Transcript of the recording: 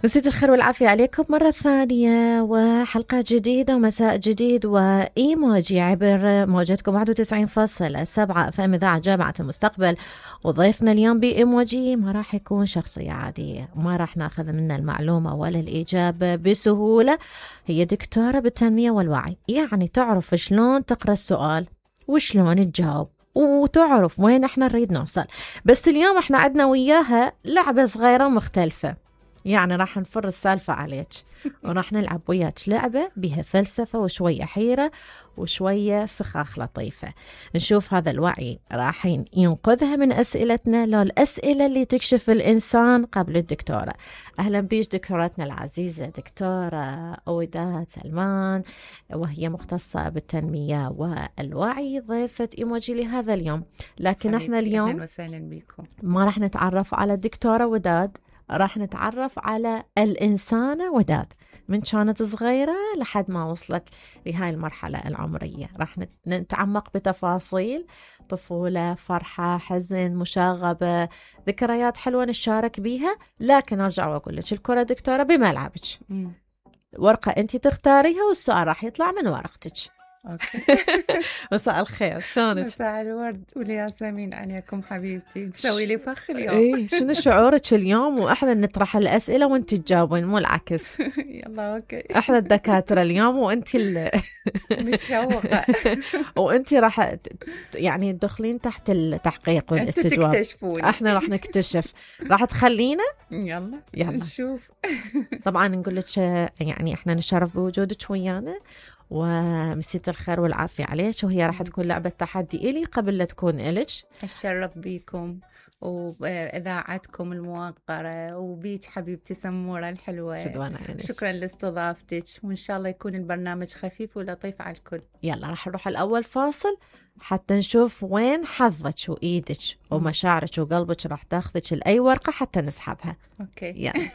مساء الخير والعافية عليكم مرة ثانية، وحلقة جديدة ومساء جديد وإيموجي عبر موجتكم 91.7 FM إذاعة جامعة المستقبل. وضيفنا اليوم بإيموجي ما راح يكون شخصية عادية، ما راح ناخذ منها المعلومة ولا الإجابة بسهولة. هي دكتورة بالتنمية والوعي، يعني تعرف شلون تقرأ السؤال وشلون تجاوب وتعرف وين احنا نريد نوصل. بس اليوم احنا عندنا وياها لعبة صغيرة مختلفة، يعني راح نفر السالفة عليك وراح نلعب وياك لعبة بها فلسفة وشوية حيرة وشوية فخاخ لطيفة. نشوف هذا الوعي راح ينقذها من أسئلتنا لو الأسئلة اللي تكشف الإنسان قبل الدكتورة. أهلا بيش دكتورتنا العزيزة دكتورة وداد سلمان، وهي مختصة بالتنمية والوعي، ضيفة إيموجي لهذا اليوم. لكن احنا اليوم أهلا وسهلا بكم. ما راح نتعرف على الدكتورة وداد، راح نتعرف على الإنسانة وداد من كانت صغيرة لحد ما وصلت لهاي المرحلة العمرية. راح نتعمق بتفاصيل طفولة، فرحة، حزن، مشاغبة، ذكريات حلوة نشارك بيها. لكن أرجع وأقول لك الكرة دكتورة بملعبك، ورقة أنت تختاريها والسؤال راح يطلع من ورقتك. أوكي. مساء الخير، شلونك؟ مساء الورد والياسمين عليكم حبيبتي، مسوي لي فخ اليوم. إيه، شنو شعورك اليوم وإحنا نطرح الأسئلة وأنت تجاوبين مو العكس؟ يلا أوكي. إحنا الدكاترة اليوم وأنت متشوقة. وأنت راح يعني تدخلين تحت التحقيق والاستجواب. أنتوا تكتشفوني. إحنا راح نكتشف، راح تخلينا يلا نشوف. طبعا نقول لك يعني إحنا نشرف بوجودك ويانا، ومسيت الخير والعافية عليك. وهي راح تكون لعبة تحدي إلي قبل لا تكون إلك. أتشرف بيكم وإذاعتكم الموقرة وبيك حبيبتي سمورة الحلوة. شكرا لاستضافتك، وإن شاء الله يكون البرنامج خفيف ولطيف على الكل. يلا راح نروح الأول فاصل حتى نشوف وين حظك وإيدك ومشاعرك وقلبك راح تاخذك لأي ورقة حتى نسحبها. أوكي. يلا.